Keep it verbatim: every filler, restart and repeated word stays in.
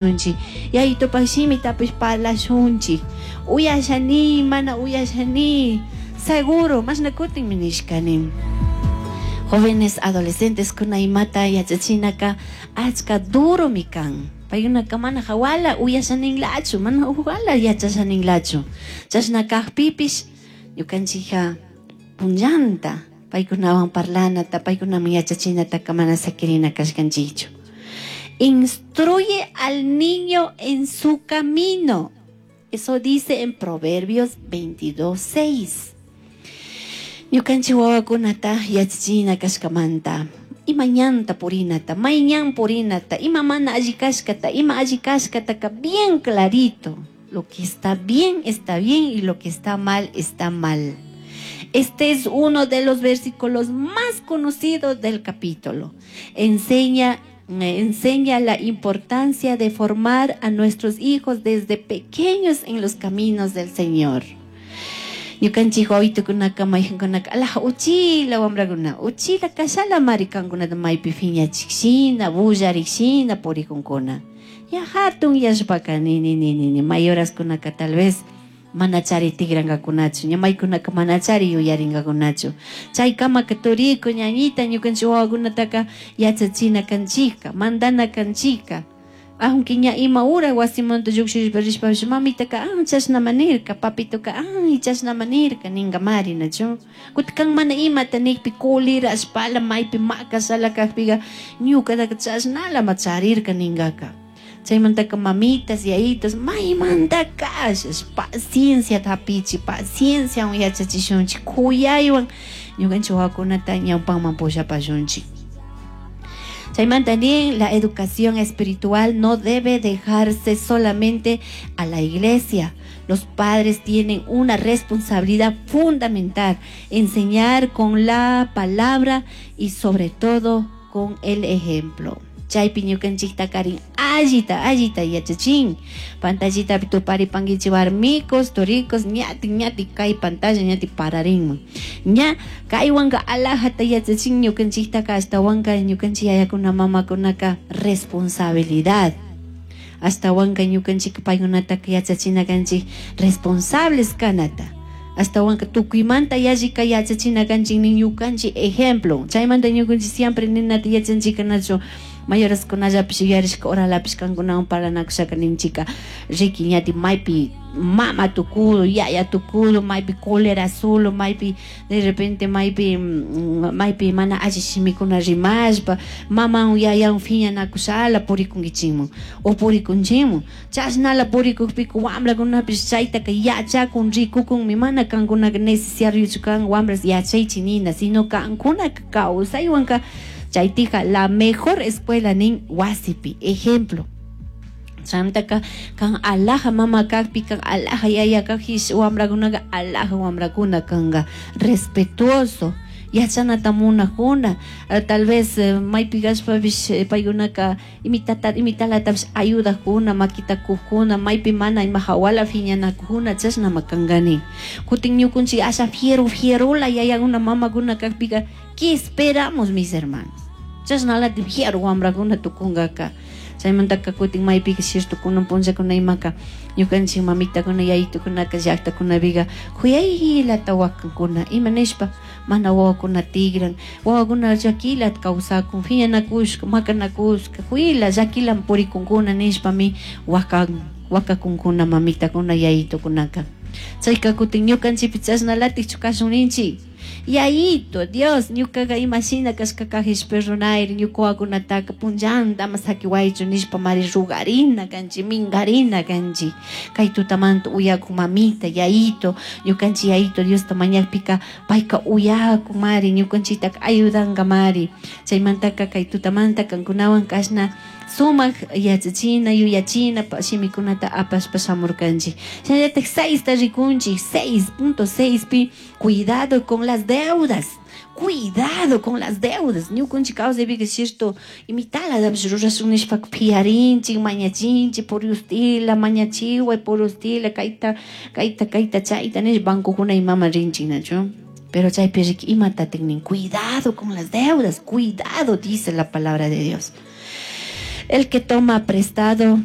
Unchik yayitupak shimitapish parlashunchik uyashani mana uyashani seguro mashna kutinmi nishkani. Jóvenes adolescentes kuna imata yachachinaka achka duromi kan, paykunaka mana hawala uyashaninlachu, mana hawala yachashaninlachu. Chashna kakpipish ñukanchikka punllanta paykunawan parlanata, paykunaman yachachinataka mana sakirina kashkanchikchu. Instruye al niño en su camino. Eso dice en Proverbios veintidós, seis. Ñukanchik wawakunata yachachina kashkamanta, ima ñanta purinata, may ñan purinata, ima mana alli kashkata, ima alli kashkataka bien clarito. Lo que está bien, está bien, y lo que está mal, está mal. Este es uno de los versículos más conocidos del capítulo. Enseña, enseña la importancia de formar a nuestros hijos desde pequeños en los caminos del Señor. Ñukanchik wawitukunaka maykankunaka alaja uchila wamrakuna, uchila kashala mari kankunata maypi phiñachikshina, bullarikshina purikunkuna. Ya hatun yashpaka ni ni ni ni ni mayoraskunaka tal vez manachari tigrangakunachu, ña maykunaka manachari yuyaringakunachu. Chaykamaka turiku ñañita ñukanchik wawakunataka yachachina kanchikka, mandana kanchikka. Aunque ña ima hora wasimanta llukshishpa rishpapish mamitaka ah chashnama nirka, papitoka ah chashnama nirka ninkamari nachu. Kutin kan mana imata nikpi kulirashpala maypi makashala kakpiga ñukataka chashnalama charirka ningaka. Chaymantaka mamitas, yayitos, maymanta kashash paciencia hapichi, pacienciawan yachachishunchik, kuyaywan ñukanchik wawakunata ñawpanman pushapashunchik. Chaymanta nin, la educación espiritual no debe dejarse solamente a la iglesia. Los padres tienen una responsabilidad fundamental, enseñar con la palabra y sobre todo con el ejemplo. Chaypi ñukanchikta karin allita, allita yachachin. Pantallitapi tuparipankichik warmikos, turikos, ñati, ñati kay pantalla ñati pararinman. Ña kaywanka alajata yachachin ñukanchiktaka ashtawanka ñukanchik yayakuna mamakunaka responsabilidad. Ashtawanka ñukanchik paykunataka yachachina kanchik responsables kanata. Ashtawanka tukuymanta yallika yachachina kanchik nin ñukanchik ejemplo. Chaymanta ñukanchik siempre ninata yachanchik kanachu. Mayoraskunallapish yuyarishka oralapish kankunawan parlanakushaka ninchika riki ñati maypi mama tukudo, yaya tukudo, maypi cólera solo, maypi de repente maypi, mm, maypi mana alli shimikuna rimashpa, maman yayan phiñanakushala purikunkichikman o purikunchikman. Chashnala purikukpika wamrakunapish chaytaka yachakun, rikukunmi, mana kankunaka necesario kan wamras yachaychik nina, sino kankunaka kawsaywanka chaytika la mejor escuela nin wasipi, ejemplo. Chaymantaka kan alaja mama kakpi, kan alaja yaya kakpish wamrakunaka alaja wamrakuna kanka, respetuoso, yachanata munakuna. Tal vez maypi kashpapish paykunaka imitata, imitalatapish ayudakuna, makita kukuna, maypi mana ima hawala phiñanakuna, chashnama kankani. Kutin ñukunchik asha fiero, fierola yayakuna mamakuna kakpika, ¿qué esperamos, mis hermanos? Chashnalati fiero wamrakuna tukunkaka. Chaymantaka kutin maypika cierto kunan punllakuna imaka ñukanchik mamitakuna yayitukunaka llaktakunapica kuyaylata wakankuna, ima nishpa mana wawakuna tigran, wawakuna llakilata kawsakun, phiñanakushka, makanakushka, kuyla llakilan purikunkuna nishpami wakan, wakakunkuna mamitakuna yayitukunaka. Chayka kutin ñukanchikpi chashnalatikchu kashun ninchik. Yayito, Dios, ñukaqa imashina kashkakajish perdonayri, ñuka wawakunataka punllanta ama sakiwaychu nishpa mari rugarina kanchik, minkarina kanchik. Kay tutamanta uyakun mamita, yayito, ñukanchik yayito Diosta mañakpika payka uyakun mari, ñukanchiktaka ayudanka mari. Chaymantaka kay tutamanta kankunawan kashna sumak yachachina, yuyachina shimikunata apashpa shamurkanchik. Shinallatak seis ta rikunchik, seis punto seis pi, cuidado con las deudas. Cuidado con las deudas. Ñukanchik kawsaypika cierto imitalatapish rurashun nishpaka phiyarinchik, mañachinchik, puriustila, mañachiway, puriustila, kayta, kayta, kayta, chayta nishpa bancokuna imaman rinchik, nachu? Pero chaypi riki imatatik nin, cuidado con las deudas, cuidado, dice la palabra de Dios. El que toma prestado